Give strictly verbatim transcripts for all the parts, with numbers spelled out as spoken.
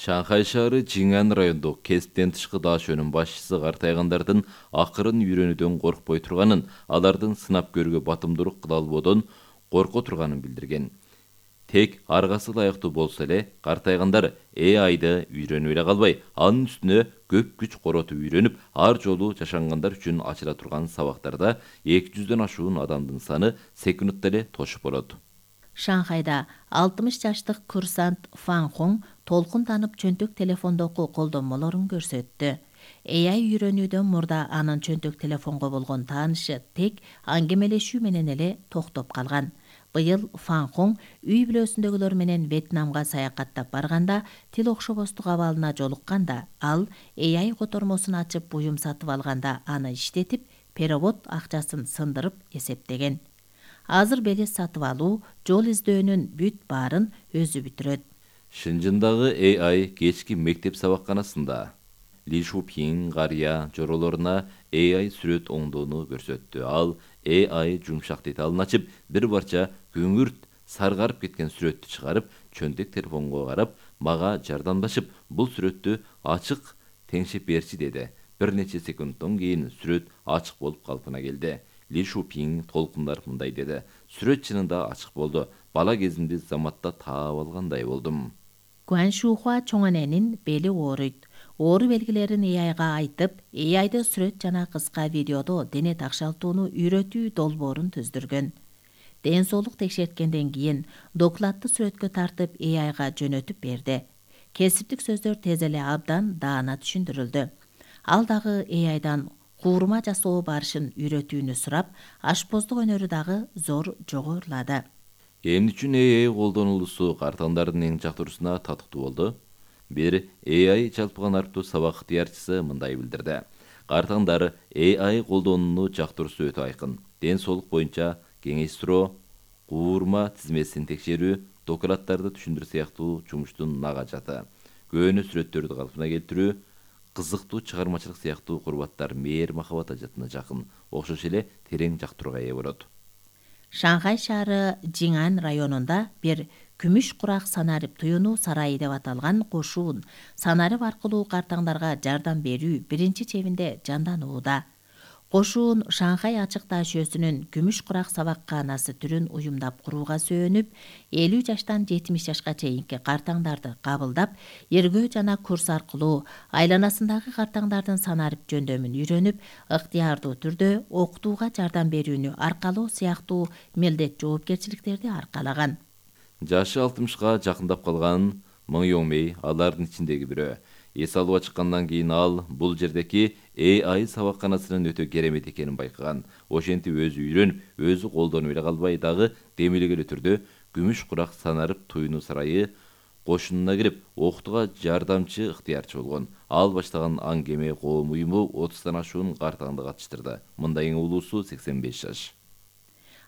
Шанхай шаары Жиңан райондук кесиптен тышкы даашөөнүн башчысы картайгандардын акырын үйрөнүүдөн коркпой турганын, алардын сынап көрүүгө батымдуулук кыла албоодон корко турганын билдирген. Тек аргасы ылайыктуу болсо эле, картайгандар A I'ды үйрөнүп эле калбай, анын үстүнө көп күч коротуп үйрөнүп, ар жолу жашангандар үчүн ачыла турган сабактарда эки жүздөн ашуун адамдын саны секундта эле тошуп болот. Шанхайда алтымыш жаштык курсант Фан Хун толкун танып чөнтөк телефондогу колдонмолорун көрсөттү. A I үйрөнүүдөн мурда анын чөнтөк телефонго болгон таанышы тек аңгемелешүү менен эле токтоп калган. Быйыл Фан Хун үй бүлөсүндөгүлөр менен Вьетнамга саякаттап барганда тил окшобостук абалына жолукканда, ал A I котормосун ачып буюм сатып алганда аны иштетип, перевод акчасын сындырып эсептеген. Азыр белес сатып алуу, жол издөөнүн бүт баарын өзү бүтүрөт. Шынжындагы A I кечки мектеп сабакканасында Ли Шупин карыя жоролоруна A I сүрөт оңдоону көрсөттү. Ал A I жумшак деталын ачып, бир барча көңүрт саргарып кеткен сүрөттү чыгарып, чөнтөк телефонго карап, мага жардамдашып, бул сүрөттү ачык теңшеп берчи деди. Бир нече секундтон кийин сүрөт ачык болуп калпына келди. Ли Шупин толкундар мындай деди: "Сүрөт чынында ачык болду. Бала кезимди заматта таап алгандай болдум." Гуан Шухуа чоң эненин бели ооруйт. Оору белгилерин A I'га айтып, A I'ды сүрөт жана кыска видеодо дене такшалтууну үйрөтүү долбоорун түздүргөн. Ден соолук текшерткенден кийин докладты сүрөткө тартып A I'га жөнөтүп берди. Кесиптик сөздөр тез эле абдан даана түшүндүрүлдү. Ал дагы A I'дан куурма жасоо барышын үйрөтүүнү сурап, ашпоздук өнөрү дагы зор жогорулады. Эмне үчүн A I колдонулуусу картаңдардын эң жактуурусуна татыктуу болду? Бир A I жалпыган арктуу сабак ыктыярчысы мындай билдирди. Картаңдар A I колдонууну жактуурусу өтө айкын. Ден соолук боюнча кеңеш суроо, куурма тизмесин текшерүү, докладдарды түшүндүрүү сыяктуу жумуштун нага жаты. Көөнө сүрөттөрдү калпына келтирүү, кызыктуу чыгармачылык сыяктуу курбаттар мээр махабат ажатына жакын, окшош эле терең жактырууга ээ болот. Шанхай шаары Жиңан районунда бир күмүш курак санарип туюну сарайы деп аталган кошуун санарип аркылуу картаңдарга жардам берүү биринчи чебинде жанданууда. Кошуун Шанхай ачык даашөөсүнүн күмүш курак сабакканасы түрүн уюмдап курууга сөөнүп, элүү жаштан жетимиш жашка чейинки картаңдарды кабылдап, эргөө жана курс аркылуу айланасындагы картаңдардын санарип жөндөмүн үйрөнүп, ыктыярдуу түрдө окутууга жардам берүүнү аркалоо сыяктуу милдет жоопкерчиликтерди аркалаган. Жашы алтымышка жакындап калган Мың Йоңмей алардын ичиндеги бирөө. Эс алууга чыккандан кийин ал бул жердеки A I сабакканасынын өтө керемет экенин байкаган. Ошентип өзү үйрөнүп, өзү колдонуп эле калбай дагы демилгелүү түрдө күмүш курак санарип туюну сарайы кошунуна кирип, окутууга жардамчы ыктыярчы болгон. Ал баштаган аңгеме коом уюму отуздан ашуун картаңды катыштырды. Мындай эң улуусу сексен беш жаш.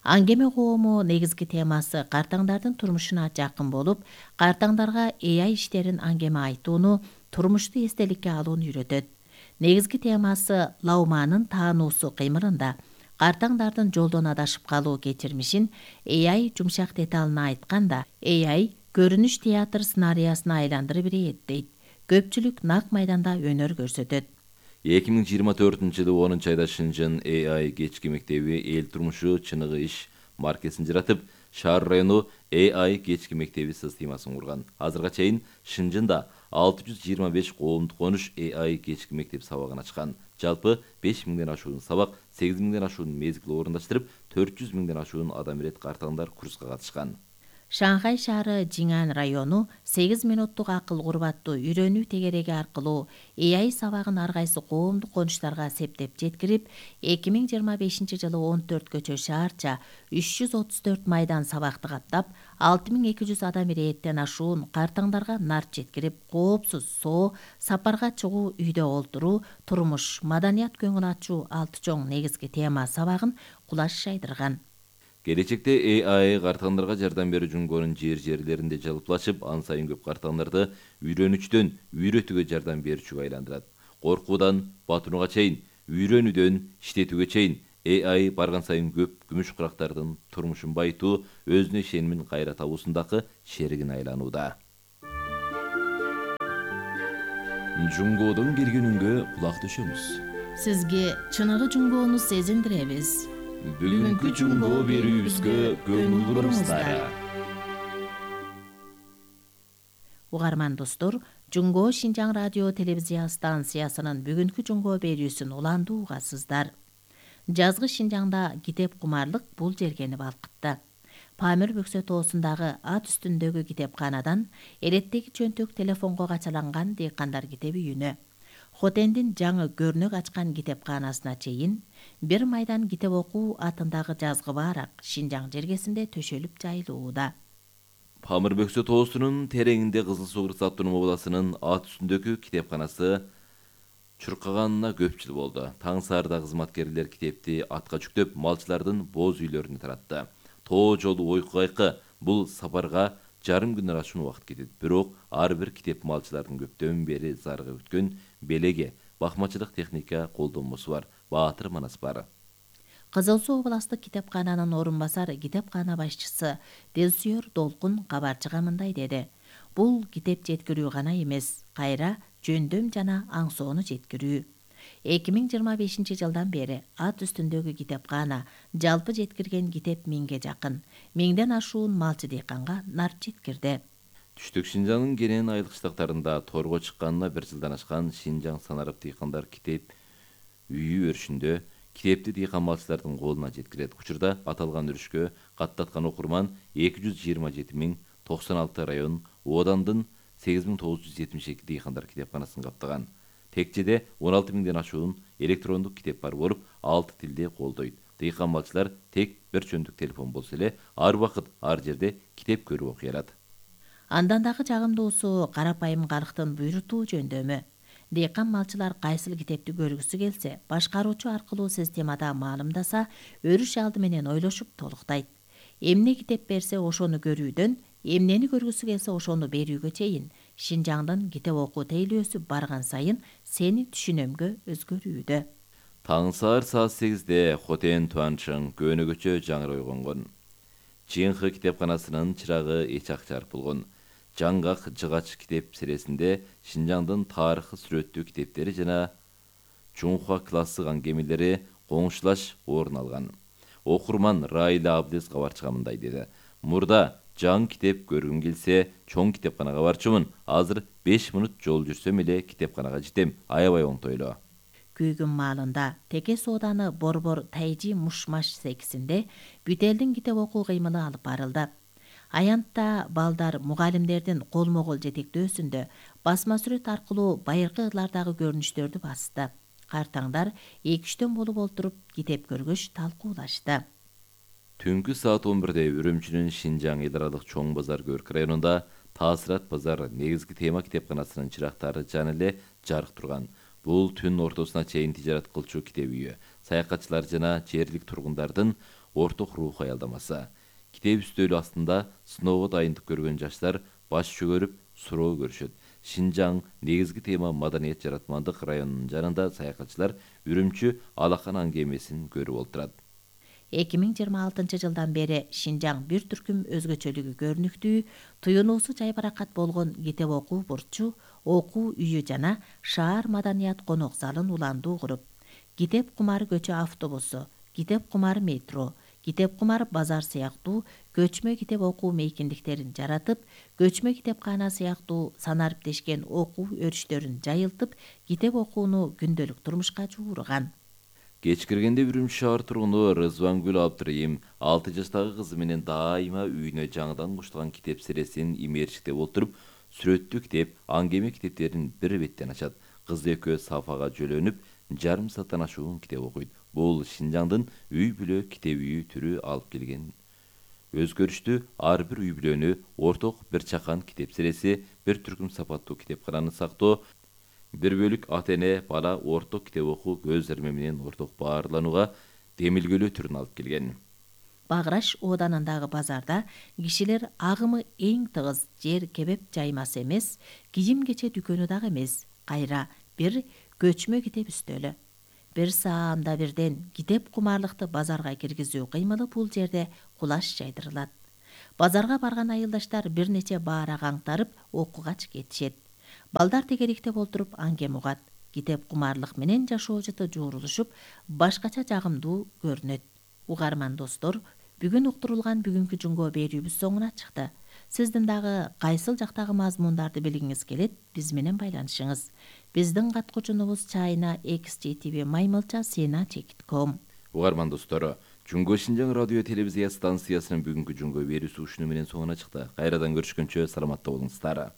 Аңгеме коому негизги темасы картаңдардын турмушуна жакын болуп, картаңдарга A I иштерин аңгеме айтууну, турмушту эстеликке алууну үйрөтөт. Негизги темасы Лауманын таануусу кыймылында. Картаңдардын жолдон адашып калуу кечирмишин A I жумшак деталына айтканда, A I көрүнүш театр сценариясына айландырып берет дейт. Көпчүлүк нак майданда өнөр көрсөтөт. эки миң жыйырма төртүнчү жылы онунчу айда Шынжын A I кечки мектеби эл турмушу чыныгы иш маркесин жаратып, шаар району A I кечки мектеби системасын курган. Азырга чейин Шынжында алты жүз жыйырма беш коомдук конуш A I кечки мектеп сабагын ачкан. Жалпы беш миңден ашуун сабак, сегиз миңден ашуун мезгил орундаштырып, төрт жүз миңден ашуун адам ирет картаңдар курска катышкан. Шанхай шаары Жиңан району сегиз минуттук акыл курбаттуу үйрөнүү тегереги аркылуу A I сабагын ар кайсы коомдук конуштарга септеп жеткирип, эки миң жыйырма бешинчи жылы он төрткөчө шаарча үч жүз отуз төрт майдан сабакты каттап, алты миң эки жүз адам ирээттен ашуун картаңдарга нарт жеткирип, коопсуз соо, сапарга чыгуу, үйдө олтуруу, турмуш, маданият көңүл ачуу алты чоң негизги тема сабагын кулаш жайдырган. Келечекте A I картаңдарга жардам берүү жөнгөнүн жер-жерлеринде жалпылашып, ан сайын көп картаңдарды үйрөнүчтөн үйрөтүүгө жардам берүүчүгө айландырат. Коркуудан батынууга чейин, үйрөнүүдөн иштетүүгө чейин A I барган сайын көп күмүш курактардын турмушун байытуу, өзүнө ишенимин кайра табуусундагы шеригине айланууда. Жунгоодон келген үнгө кулак төшөмүз. Сизге чыныгы жунгоону сезиндиребиз. Бүгүнкү жунгоо берүүбүзгө көңүл буруңуздар. Угарман достор, Жунгоо Шинжаң радио телевизия станциясынын бүгүнкү жунгоо берүүсүн уландуу угасыздар. Жазгы Шинжаңда китеп кумарлык бул жергени балкытты. Памир Бөксө тоосундагы ат үстүндөгү китепканадан эреттеги чөнтөк телефонго качаланган дыйкандар китеп үйүнө, Хотендин жаңы көрнөк ачкан китепканасына чейин бир майдан китеп окуу атындагы жазгы баарак Шинжаң жергесинде төшөлүп жайылууда. Памир Бөксө тоосунун тереңинде Кызыл Сугур автономдук областынын ат үстүндөгү китепканасы чуркаганына көп жыл болду. Таң саарда кызматкерлер китепти атка жүктөп, малчылардын боз үйлөрүнө таратты. Тоо жолу ойку кайкы бул сапарга жарым күндөр ашуун убакыт кетет. Бирок ар бир китеп малчылардын көптөн бери зарыгы күткөн белеге бакмачылык техника колдонмосу бар, баатыр манас бар. Кызыл Суу областык китепкананын орун басары китепкана башчысы Делсүйөр Долкун кабарчыга мындай деди. Бул китеп жеткирүү гана эмес, кайра жөндөм жана аңсоону жеткирүү. эки миң жыйырма бешинчи жылдан бери ат үстүндөгү китепкана жалпы жеткирген китеп миңге жакын, миңден ашуун малчы дыйканга нар жеткирди. Түштүк Шинжаңдын кенен айылык штаттарында торго чыкканына бир жылдан ашкан Шинжаң санарып дыйкандар китеп үйү өрүшүндө китепти дыйкан малчылардын колуна жеткирет. Учурда аталган өрүшкө каттаткан окурман эки жүз жыйырма жети миң токсон алты район, Оодандын сегиз миң тогуз жүз жетимиш эки дыйкандар китепканасын каптаган. Текчеде он алты миңден ашуун электрондук китеп бар болуп, алты тилде колдойт. Дыйкан малчылар тек бир чөндүк телефон болсо эле ар убакыт ар жерде китеп көрүп окуй алат. Андан дагы жагымдуусу карапайым калктын буйрутуу жөндөмү. Дыйкан малчылар кайсыл китепти көргүсү келсе, башкаруучу аркылуу системада маалымдаса, өрүш алды менен ойлошуп толуктайт. Эмне китеп берсе ошону көрүүдөн, эмнени көргүсү келсе ошону берүүгө чейин Шинжаңдын китеп окуу тейлөөсү барган сайын сени түшүнөмгө өзгөрүүдө. Таң саар саат сегизде Хотен Туанчың көөнөгөчө жаңыр ойгонгон. Чыйынкы китепканасынын чырагы эч ак жарык болгон. Жаңгак жыгач китеп сересинде Шинжаңдын тарыхы сүрөттүү китептери жана Чунхуа классык аңгемелери коңшулаш орун алган. Окурман Райла Абдес кабарчыга мындай деди. Мурда жаңы китеп көргүм келсе, чоң китепканага барчумун. Азыр беш мүнөт жол жүрсөм эле китепканага жетем. Аябай оңтойлуу. Күйгүн маалында Теке сооданы Борбор Тайжи Мушмаш секисинде бүт-элдин китеп окуу кыймылы алып барылды. Аянтта балдар мугалимдердин колмо-кол жетектөөсүндө басма сүрөт аркылуу байыркы ырлардагы көрүнүштөрдү басты. Картаңдар эки үчтөн болуп олтуруп китеп көргөч талкуулашты. Түнкү саат он бирде Үрүмчүнүн Шинжаң эл аралык чоң базар көрк районунда Таасырат базар негизги тема китепканасынын чырактары жана эле жарык турган. Бул түн ортосуна чейин тижарат кылчу китеп үйү, саякатчылар жана жергиликтүү тургундардын орток рух аялдамасы. Китеп үстөлү астында сыноого дайындык көргөн жаштар баш чөгөрүп суроо көрүшөт. Шинжаң негизги тема маданият жаратмандык районунун жанында саякатчылар Үрүмчү алакан аңгемесин көрүп олтурат. эки миң жыйырма алтынчы жылдан бери Шинжаң бир түркүм өзгөчөлүгү көрүнүктүү, туюнуусу жайбаракат болгон китеп окуу бурчу, окуу үйү жана шаар маданият конок залын уландуу куруп, китеп кумары көчө автобусу, китеп кумары метро, китеп кумары базар сыяктуу көчмө китеп окуу мейкиндиктерин жаратып, көчмө китепкана сыяктуу санариптешкен окуу өрүштөрүн жайылтып, китеп окууну күндөлүк турмушка жуурган. Кеч киргенде Үрүмчү шаар тургуну Рызвангүл Абдырайым алты жаштагы кызы менен дайыма үйүнө жаңыдан кушталган китеп сересин имээрчиктеп олтуруп, сүрөттүү китеп, аңгеме китептерин бир беттен ачат. Кыз экөө сафага жөлөнүп, жарым сааттан ашуун китеп окуйт. Бул Шинжаңдын үй бүлө китеп үйү түрү алып келген өзгөрүштүү ар бир үй бүлөнү орток бир чакан китеп сереси, бир түркүм сапаттуу китепкананы сактоо, бир бөлүк ата-эне бала орток китеп окуу көз армы менен орток баарланууга демилгөлөө түрүн алып келген. Баграш ооданындагы базарда кишилер агымы эң тыгыз, жер кебеп жаймас эмес, кийим-кече дүкөнү дагы эмес, кайра бир көчмө китеп үстөлү. Бир саамда бирден китеп кумарлыкты базарга киргизүү кыймылы бул жерде кулаш жайдырылат. Базарга барган айылдаштар бир нече баара аңтарып окугач кетишет. Балдар тегериктеп олтуруп аңгем угат. Китеп кумарлык менен жашоо жыты жуурулушуп, башкача жагымдуу көрүнөт. Угарман достор, бүгүн уктурулган бүгүнкү жумго берүүбүз соңуна чыкты. Сиздин дагы кайсыл жактагы мазмундарды билгиңиз келет, биз менен байланышыңыз. Биздин каткуучунубуз чайна экс жей ти ви маймылча сена чекит ком. Угарман достор, Жумго Шинжаң радио телевизия станциясынын бүгүнкү жумго берүүсү ушуну менен соңуна чыкты. Кайрадан көрүшкөнчө саламатта болуңуздар.